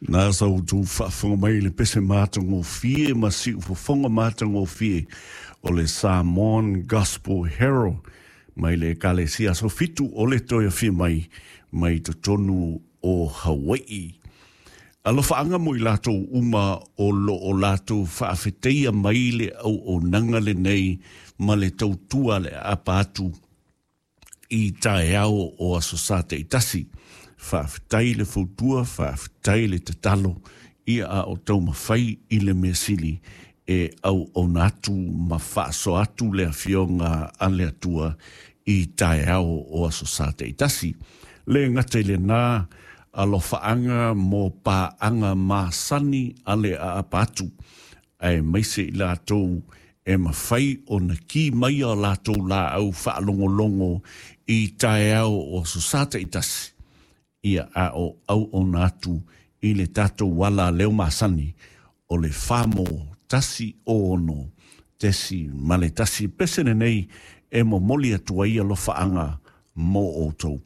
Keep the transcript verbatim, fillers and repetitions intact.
Na sa outou faafofoga mai i le pese matagofie ma siufofoga matagofie o le Samoan Gospel Herald mai le Ekalesia Aso Fitu o le Toe Afio Mai mai totonu o Hawai'i. Alofaaga mo i latou uma o loo latou faafeteia mai le auaunaga lenei ma le tautua le aapa atu i taeao o Aso Sa taitasi. Faafetai le fautua, faafetai le tatalo, ia a o taumafai i le mea sili e auauna atu ma faasoa atu le afioga a le Atua i taeao o Aso Sa taitasi. Le gata i lena, alofaaga mo paaga masani a le aapa atu, aemaise i latou e mafai ona ki mai o latou laau faalogologo i taeao o Aso Sa taitasi, ia a o auauna atu i le tatou ala leo masani o le famo tasi ono tesi ma le tasi. Pese lenei e momoli atu ai alofaaga mo outou.